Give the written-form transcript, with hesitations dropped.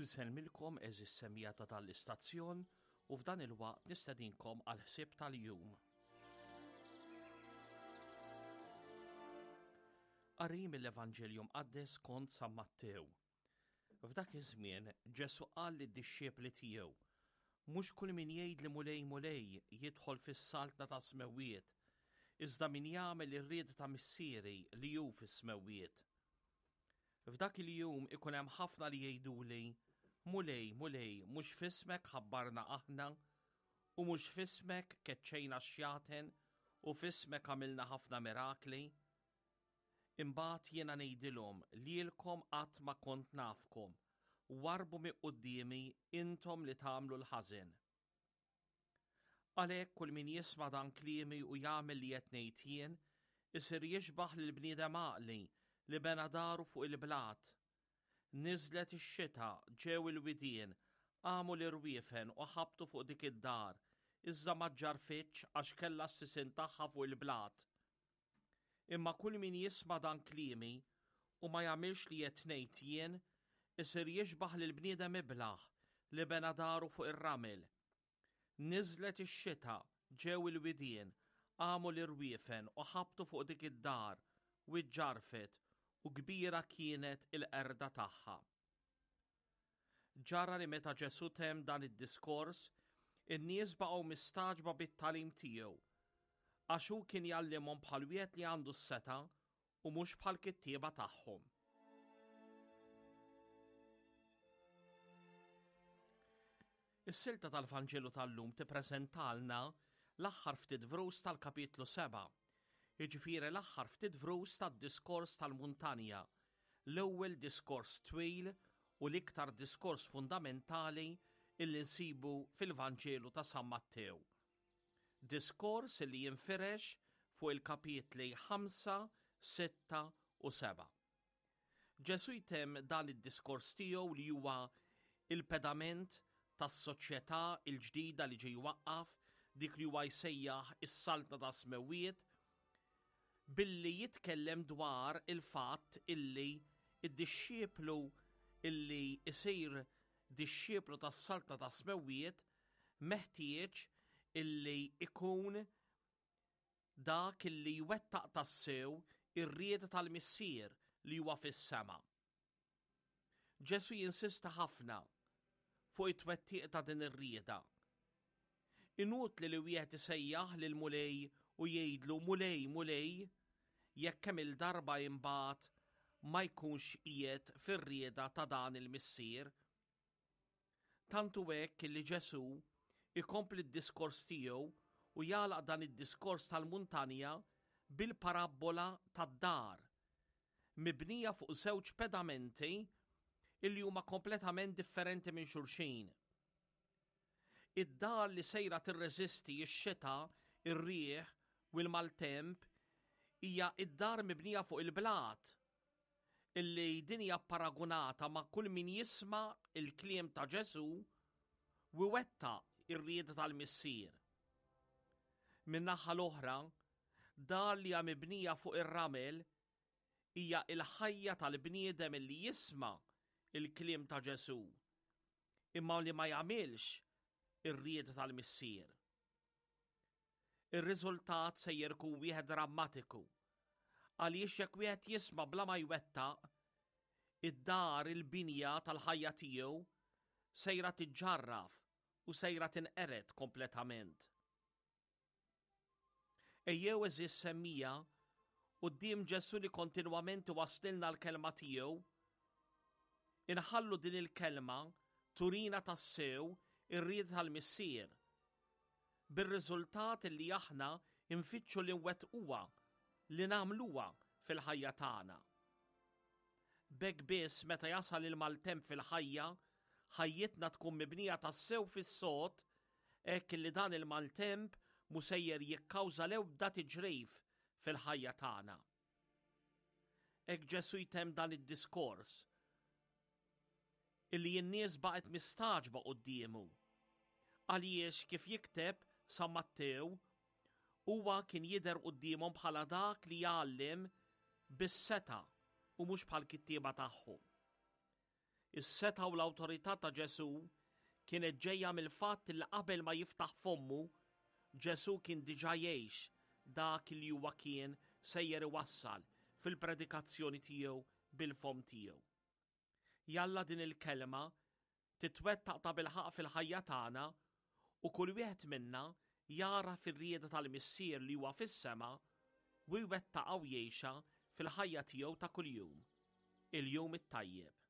Insellmilkom għeżież semmiegħa ta' dan l-istazzjon u f'dan il-waqt nistedinkom għal ħsieb tal-jum. Qari mill-Evanġelju Mqaddes kont San Mattew. F'dak iż-żmien Ġesù qal lid-dixxipli tiegħu, Mhux kull min jgħidli Mulej, Mulej jidħol fis-saltna tas-smewwiet, iżda min jagħmel ir-rieda ta' Missieri li hu fis-smewwiet. F'dak il-jum ikun hemm ħafna li jgħiduli, Mulej, Mulej, mhux f'ismek ħabbarna aħna, u mhux f'ismek keċċejna x-xjaten, u f'ismek għamilna ħafna mirakli? Imbagħad jiena ngħidilhom, Lilkom qatt ma kont nafkom, warrbu minn quddiemi intom li tagħmlu l-ħażen. Għalhekk kull min jisma' dan kliemi u jagħmel li qed ngħid jien, isir jixbah lil bniedem għaqli li bena daru fuq il-blat. Niżlet ix-xita, ġew il-widien, qamu l-irwiefen u ħabtu fuq dik id-dar, iżda ma ġġarfitx għax kellha s-sisien tagħha fuq il-blat. Imma kull min jisma' dan kliemi u ma jagħmilx li qed ngħid jien, isir jixbah lil bniedem iblah li bena daru fuq ir-ramel. Niżlet ix-xita, ġew il-widien, qamu l-irwiefen u ħabtu fuq dik id-dar, u ġġarfet, u kbira kienet il-qerda tagħha. Ġara li meta Ġesù temm dan id-diskors, in-nies baqgħu mistagħġba bit-tagħlim tiegħu, għax hu kien jgħallimhom bħal wieħed li għandu s-setgħa u mhux bħall-kittieba tagħhom. Is-silta tal-Vanġelu tal-lum tippreżentalna l-aħħar ftit vrus tal-kapitlu 7, jiġifieri l-aħħar ftit vrus tad-diskors tal-muntanja, l-ewwel diskors twil u l-iktar diskors fundamentali illi nsibu fil-Vanġelu ta' San Mattew. Diskors illi jinfirex fuq il-kapitli 5, 6 u 7. Ġesù jtemm dan id-diskors tiegħu li huwa il-pedament tas-soċjetà l-ġdida li ġie jwaqqaf, dik li huwa jsejjaħ is-Saltna tas-Smewwiet, billi jitkellem dwar il-fatt illi id-dixxiplu illi jsir dixxiplu tas-Saltna tas-Smewwiet meħtieġ illi ikun dak illi jwettaq tassew ir-rieda tal-Missier li huwa fis-sema. Ġesù jinsista ħafna fuq it-twettiq ta' din ir-rieda. Inutli li wieħed isejjaħ lil Mulej u jgħidlu Mulej, Mulej, jekk kemm il-darba imbagħad ma jkunx qiegħed fir-rieda ta' dan il-Missier. Tant hu hekk li Ġesù jkompli d-diskors tiegħu u jagħlaq dan id-diskors tal-muntanja bil-parabbola tad-dar, mibnija fuq żewġ pedamenti illi huma kompletament differenti minn xulxin. Id-dar li sejra tirreżisti x-xita, ir-riħ u l-maltemp hija d-dar mibnija fuq il-blat, illi din hija pparagunata ma' kull min jisma' l-kliem ta' Ġesù u iwettaq ir-rieda tal-Missier. Min-naħa l-oħra, dar li hija mibnija fuq ir-ramel hija l-ħajja tal-bniedem illi jisma' l-kliem ta' Ġesù, imma li ma jagħmilx ir-rieda tal-Missier. Ir-riżultat sejjer ikun wieħed drammatiku. Għaliex jekk wieħed jisma' bla ma jwettaq, id-dar il-binja tal-ħajja tiegħu sejra tiġġarraf u sejra tinqered kompletament. Ejjew għeżież semmija quddiem Ġesù li kontinwament iwasslilna l-kelma tiegħu, inħallu din il-kelma turina tassew ir-rieda tal-Missier, bir-riżultat li aħna nfittxu li nwettquha, li nagħmluha fil-ħajja tagħna. B'hekk biss meta jasal il-maltemp fil-ħajja, ħajjitna tkun mibnija tassew fis-sod hekk li dan il-maltemp mhu sejjer jikkawża l-ebda tiġrif fil-ħajja tagħna. Hekk Ġesù jtemm dan id-diskors illi n-nies baqgħet mistagħġba quddiemu. Għaliex kif jikteb San Mattew, huwa kien jidher quddiemhom bħala dak li jgħallem bis-setgħa u mhux bħall-kittieba tagħhom. Is-setgħa u l-awtorità ta' Ġesù kienet ġejja mill-fatt li qabel ma jiftaħ fommu, Ġesù kien diġà jgħix dak li huwa kien sejjer iwassal fil-predikazzjoni tiegħu bil-fomm tiegħu. Jalla din il-kelma titwettaq tabilħaqq fil-ħajja tagħna u kull wieħed minna jagħraf ir-rieda tal-Missier li huwa fis-sema u jwettaqha u jgħixha fil-ħajja tiegħu ta' kuljum. Il-jum it-tajjeb.